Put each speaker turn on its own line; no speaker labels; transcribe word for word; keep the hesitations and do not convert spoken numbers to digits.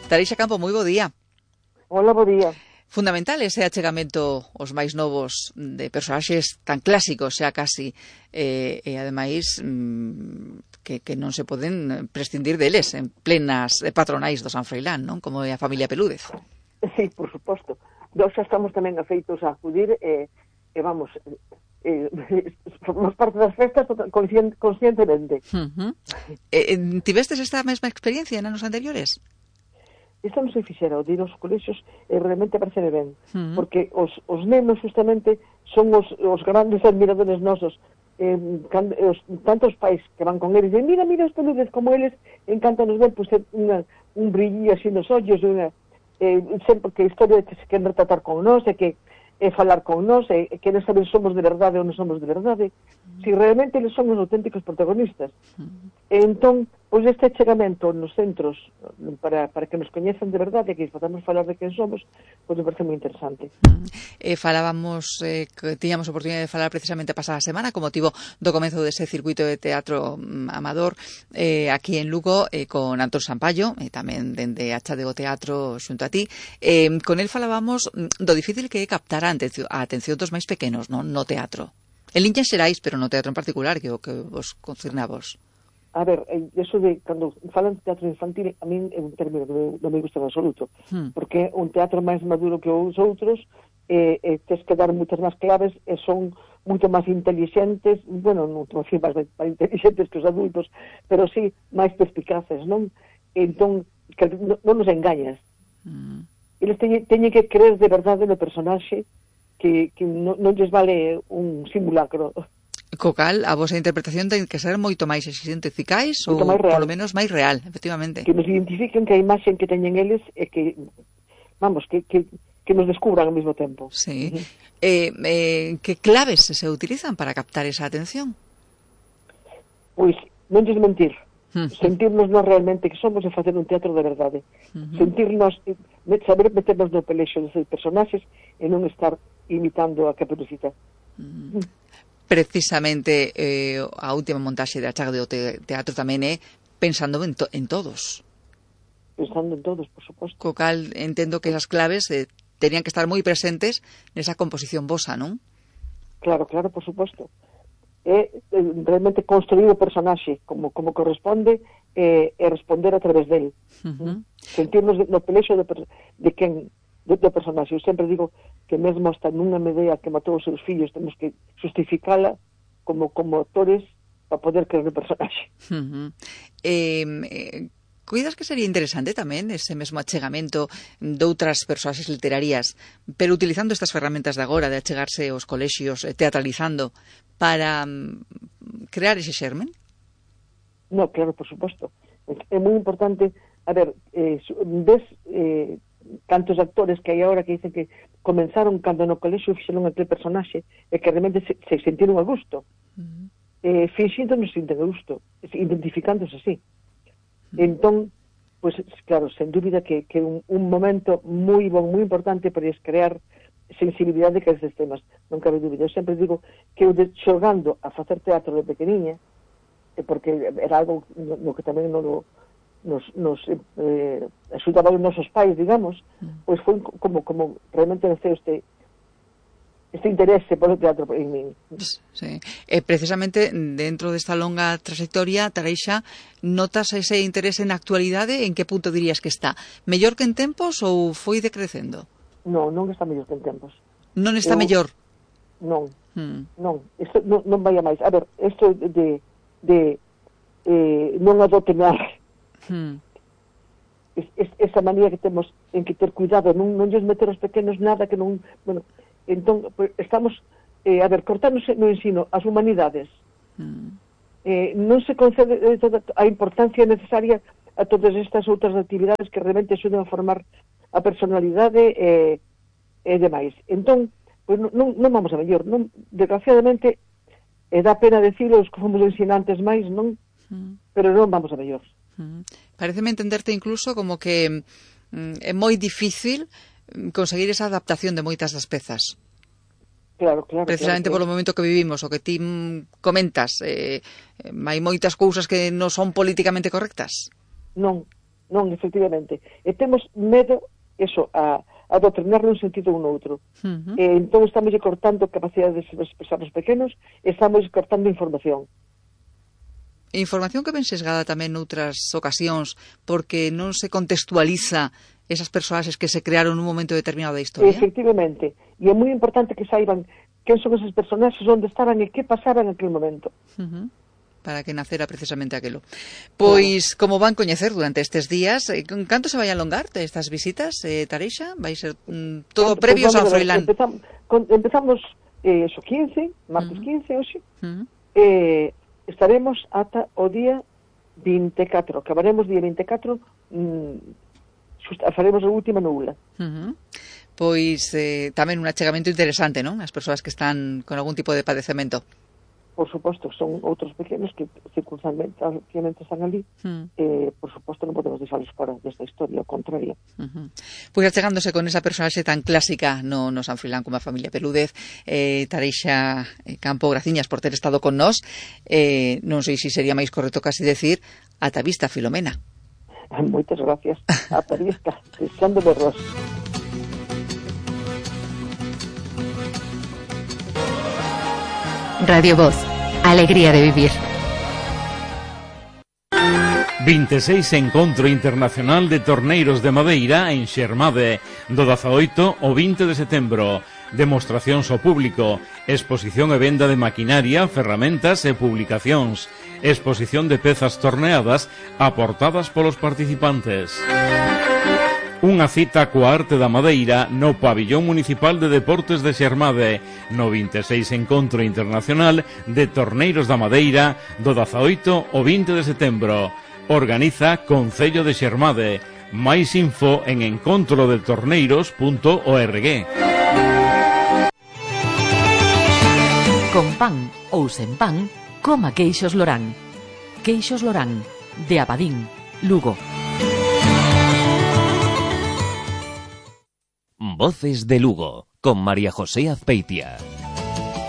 Tareixa Campo, moi bo día.
Hola, bo día.
Fundamental ese achegamento aos máis novos de personaxes tan clásicos xa casi e, e ademais mmm, que, que non se poden prescindir deles en plenas patronais do San Froilán, non? Como é a familia Pelúdez.
Sí, por suposto. Nós xa estamos tamén afeitos a acudir e, e vamos, eh, formamos parte das festas conscient, conscientemente.
Uh-huh. eh, tivestes esta mesma experiencia en anos anteriores?
Isto non se fixera, o de ir aos colexios e realmente parece ben,
uh-huh.
porque os, os nenos justamente son os, os grandes admiradores nosos, eh, can, os, tantos pais que van con eles, e mira, mira os peludes como eles, encantanos ver, pues, unha, un brillo así nos ollos, unha, eh, sempre que a historia que se queren retratar con nós, e que e falar con nós, e, e queren saber se somos de verdade ou non somos de verdade, uh-huh. si realmente eles son os auténticos protagonistas. Uh-huh. E entón, pois este achegamento nos centros para, para que nos coñezan de verdade e que podamos falar de quen somos, pois me parece moi interesante.
Uh-huh. Eh, falábamos, eh, que tiñamos oportunidade de falar precisamente a pasada semana con motivo do comezo dese circuito de teatro um, amador eh, aquí en Lugo eh, con Antón Sampaio, e eh, tamén dende a Chadeo Teatro xunto a ti. Eh, con el falábamos do difícil que é captar a atención, a atención dos máis pequenos, non? No teatro. En liñas xerais, pero no teatro en particular, que o que vos concerne a vos.
A ver, eso de, cando falan de teatro infantil, a min é un término que non me gusta en absoluto, hmm. porque un teatro máis maduro que os outros, eh, eh, tes que dar moitas máis claves, e son moito máis inteligentes, bueno, non máis, máis inteligentes que os adultos, pero sí máis perspicaces, non? Entón, que non, non nos engañas. Hmm. Eles teñen, teñen que creer de verdade no personaxe, que, que non, non lles vale un simulacro.
Co cal, a vosa interpretación ten que ser moito máis exigente, eficaz, ou polo menos máis real, efectivamente.
Que nos identifiquen que a imaxe que teñen eles é que, vamos, que, que, que nos descubran ao mesmo tempo.
Sí. Uh-huh. eh, eh, que claves se utilizan para captar esa atención?
Pois, non desmentir. Uh-huh. Sentirnos nós realmente que somos e facer un teatro de verdade. Uh-huh. Sentirnos, saber meternos no pelexo dos personaxes e non estar imitando a Caperucita.
Uh-huh. Uh-huh. Precisamente eh, a última montaxe de Achaga do te Teatro tamén é pensando en, to en todos.
Pensando en todos, por suposto.
Co cal entendo que esas claves eh, tenían que estar moi presentes nesa composición vosa, non?
Claro, claro, por suposto. É eh, realmente construir o personaxe como, como corresponde eh, e responder a través del. Uh-huh. Sentirnos no pelexo de, de quen do, do personaxe. Eu sempre digo que mesmo hasta nunha medea que matou os seus fillos temos que justificala como, como actores para poder creer no personaxe.
Uh-huh. eh, eh, Cuidas que sería interesante tamén ese mesmo achegamento de outras persoaxes literarias, pero utilizando estas ferramentas de agora de achegarse aos colexios, teatralizando, para um, crear ese xermen?
No, claro, por suposto. É moi importante, a ver, eh, ves eh, tantos actores que hai agora que dicen que comenzaron cando no colexio fixeron aquel personaxe e que realmente se, se sentiron a gusto. Uh-huh. eh, finxindo non se sinten a gusto, identificándose así. Uh-huh. Entón, pues, claro, sen dúbida que, que un, un momento moi bon, moi importante para crear sensibilidade que estes temas, non cabe dúbida. Eu sempre digo que eu de, xogando a facer teatro de pequeniña, eh, porque era algo no, no que tamén non lo nos, nos eh, axudaban os nosos pais, digamos, mm. pois foi como, como realmente naceu este este interese polo teatro en min.
Sí. E precisamente dentro desta longa trayectoria, Tareixa, notas ese interese na actualidade? En que punto dirías que está? Mellor que en tempos ou foi decrecendo?
Non, non está mellor que en tempos.
Non está Eu, mellor?
Non, mm. non, isto non, non vai a máis. A ver, isto de, de eh, non adotenar Hmm. Es, es, esa manía que temos en que ter cuidado, non, non lles meter aos pequenos nada que non, bueno, entón pues, estamos eh, a ver, cortarnos no ensino as humanidades, hmm. eh, non se concede eh, toda a importancia necesaria a todas estas outras actividades que realmente axudan a formar a personalidade e eh, eh, demais. Entón, pues, non, non vamos a mellor, non, desgraciadamente eh, dá pena decirlo os que fomos ensinantes máis, non, hmm. pero non vamos a mellor.
Uh-huh. Pareceme entenderte incluso como que mm, é moi difícil conseguir esa adaptación de moitas das pezas.
Claro, claro.
Precisamente
claro,
polo momento que vivimos, o que ti comentas, eh, hai moitas cousas que non son políticamente correctas.
Non, non, efectivamente. E temos medo, eso, a, a doutrinar nun sentido ou noutro. Uh-huh. E entón estamos cortando capacidade de expresar os pequenos e estamos cortando información.
Información que ven sesgada tamén noutras ocasións porque non se contextualiza esas personaxes que se crearon nun momento determinado da historia.
Efectivamente. E é moi importante que saiban quen son esos personaxes, onde estaban e que pasaba en aquel momento.
Uh-huh. Para que nacera precisamente aquelo. Pois, uh-huh. como van coñecer durante estes días, canto se vai alongar estas visitas, eh, Tareixa? Vai ser mm, todo Canto, previo pues, San Froilán?
Empezamos, con, empezamos eh, eso, quince, martes uh-huh. quince, hoxe, uh-huh. eh, estaremos ata o día vinte e catro, acabaremos día vinte e catro, mm, faremos a última nula.
Uh-huh. Pois eh, tamén un achegamento interesante, non? As persoas que están con algún tipo de padecemento.
Por suposto, son outros pequenos que circunstancialmente están ali, uh-huh. eh, por suposto non podemos deixarlos fora desta historia, ao contrario.
Uh-huh. Pois achegándose con esa personaxe tan clásica no, no San Froilán como a familia Pelúdez, eh, Tareixa Campo, graciñas por ter estado con nós, eh, non sei se sería máis correcto casi decir ata vista, Filomena.
Moitas gracias. Ata vista, Cristian de Berros.
Radio Voz, alegría de vivir.
vinte e seis Encontro Internacional de Torneiros de Madeira en Xermade, do dezaoito ao vinte de setembro. Demostracións ao público, exposición e venda de maquinaria, ferramentas e publicacións, exposición de pezas torneadas aportadas polos participantes. Unha cita coa arte da madeira no Pabillón Municipal de Deportes de Xermade, no vinte e seis Encontro Internacional de Torneiros da Madeira, do dezaoito ao vinte de setembro. Organiza Concello de Xermade. Máis info en encontro de torneiros punto org.
Con pan ou sen pan, coma queixos Lorán. Queixos Lorán, de Abadín, Lugo.
Voces de Lugo, con María José Azpeitia.